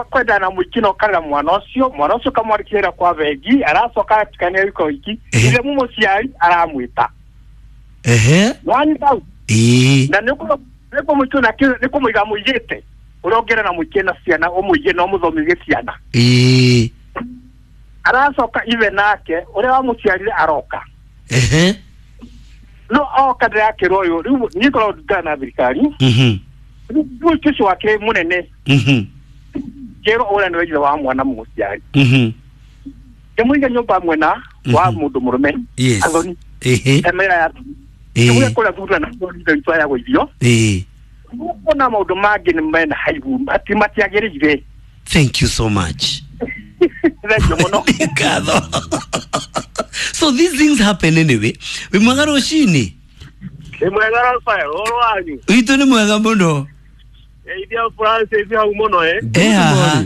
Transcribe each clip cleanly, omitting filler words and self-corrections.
Kwenda na mũingĩ na ũkarera mwana ũcio ũkamwandĩkĩra kwa bengi, aracoka atikania wiko iki, ithe mũmũciari aramwĩta. Ehe. Wanyita hau? Ĩĩ. Na nĩ kũmũikia na nĩ kũmũiga mũigĩte. Ũrĩa ũngĩra na mũingĩ na ciana, ũmũige na ũmũthomithie ciana. Ĩĩ. Aracoka ithe nake, ũrĩa wamũciarire aroka. Ehe. No oka ndĩrakĩrwo ũyũ, rĩu niĩ ngoragwo ndungana na thirikari. Rĩu ũcio wake mũnene. Kĩrwo ũrĩa nĩwe ithe wa mwana mũciari. Ngĩmũiga nyũmba mwena wa mũndũ mũrũme. Yes. Athoni. Ehe. Emera ya. Ĩĩ. Kũrĩa thura na ithe witũ ayagwo irio. Ĩĩ. Kuona maũndũ mangĩ nĩ mena haibu, ati matiagĩrĩire. Thank you so much. Thank you mũno. Ngatho. So these things happen anyway. Wĩ mwega rũcinĩ? Nĩ mwega Rafael, ũhoro wanyu? Witũ nĩ mwega mũno. Geithia Francis hau mũno ĩ. Eh, haha.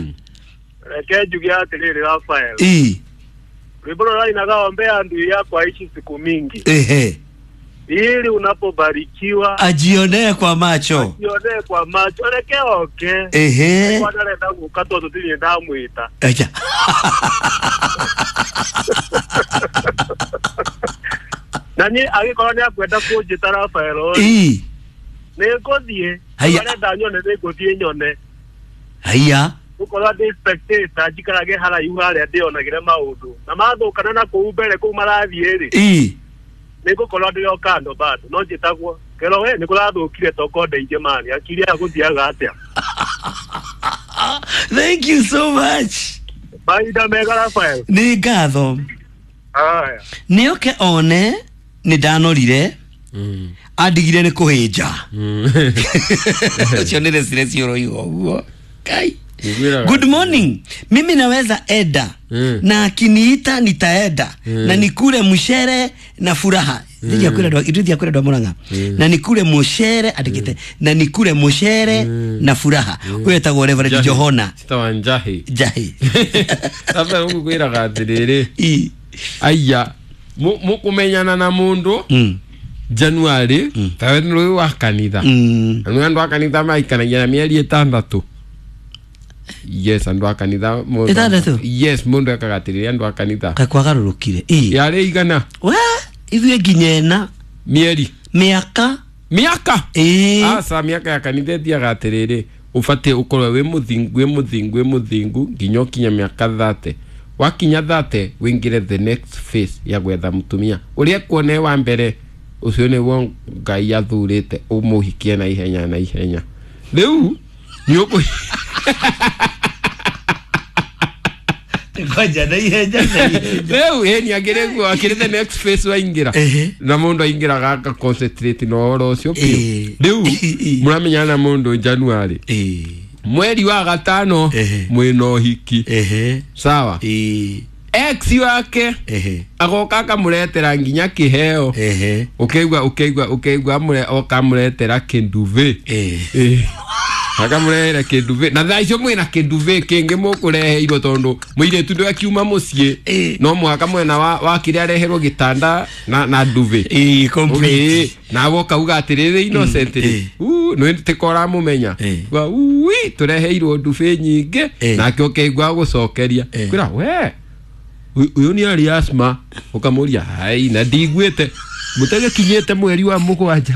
Reke njuge atĩrĩrĩ Rafael. Ĩĩ. Rwĩmbo rũrĩa rainaga ombea ndui yakwa aishi siku mingi. Ehe. Ili unapobarikiwa Ajionee kwa macho. jionee kwa macho, reke oke. Ehe. Kwa ndarenda gũka tondũ ndirĩ ndamwĩta. Acha. Na niĩ angĩkorwo nĩ akwenda kũnjĩta Rafael ĩ, Ĩĩ. nĩ ngũthiĩ. Haiya. Arenda nyone nĩ ngũthiĩ nyone. Haiya. Gũkorwo ndĩ spectator njikarage haraihu harĩa ndĩonagĩre maũndũ. Na mathũkana na kũu mbere kũu marathiĩ rĩ, Ĩĩ. nĩ ngũkorwo ndĩ o kando bado no njĩtagwo kero we nĩ kũrathũkire toko ndeithie mani akiri aya gũthiaga atĩa. Thank you so much. Mahinda mega Rafael. Nĩ ngatho. Haya. Nĩ oke one nĩ ndanorire andigire nĩ kũhĩnja. Ũcio nĩ recireci ũroiga ũguo. Kai. Nĩngwĩraga. Good morning. Mimi naweza eda na akiniita nitaenda na nikule mshere na furaha. Ithuĩ kwĩra andũ a Murang'a. Na nikule mshere andĩkĩte na nikule mshere na furaha. Ũyũ etagwo Reverend Njahi. Johona Citawa Njahi. Njahi. Rafael ngũkwĩraga atĩrĩrĩ. Ĩ. Aya mũkũmenyana na mũndũ January tawe nĩ rũĩ wa kanitha. Na nĩ andũ a kanitha maikanagia na mĩeri ĩtandatũ. Yes, andũ a kanitha Ĩtandatũ? Yes, mũndũ ekaga atĩrĩrĩ andũ a kanitha. Kaĩ kwagarũrũkire. Ĩ. Yarĩ igana We ithuĩ nginya ĩna mĩeri mĩaka. mĩaka. Ĩ. Aca mĩaka ya kanitha ĩthiaga atĩrĩrĩ, ũbatiĩ ũkorwo wĩ mũthingu wĩ mũthingu wĩ mũthingu nginya ũkinye mĩaka 30. Wakinya 30 wĩingĩre the next phase ya gwetha mũtumia ũrĩa kuona wa mbere, ũcio nĩguo Ngai athurĩte ũmũhikie na ihenya na ihenya. Rĩu nĩ ũkũ Kwanja na ihenya na ihenya. Rĩu ĩni akĩrĩ guo akĩrĩ the next phase waingĩra. Ehe. Na mũndũ aingĩraga aka concentrate na ũhoro ũcio biũ. Ĩĩ. Rĩu Ĩĩ. mũramenyana na mũndũ January. Ĩ. Mweri wa gatano Ehe. mwĩna ũhiki. Ehe. Sawa. Ĩ. Ex wake Ehe. agoka akamũretera nginya kĩheo. Ehe. Ũkaigua ũkaigua ũkaigua amũre oka amũretera kĩnduve. Ĩ. Ĩ. Akamũrehera kĩnduve na thaa icio mwĩna kĩnduve kĩngĩ mũkũreheirwo tondũ mũirĩtu ndũ akiuma mũciĩ Ĩ. no mũhaka mwena wa kĩrĩa areherwo gĩtanda na nduve. Ĩ, complete. Ĩ, nawe ũkauga atĩrĩrĩ innocent rĩ Ĩ. nĩ tĩka ũramũmenya. Ĩ. Uga, ui tũreheirwo ndube nyingĩ. Ĩ. Nake ũkaigua gũcokeria Ĩ. kwĩra we ũyũ nĩ arĩ asthma ũkamũria hai na ndiguĩte mũtagĩkinyĩte mweri wa mũgwanja.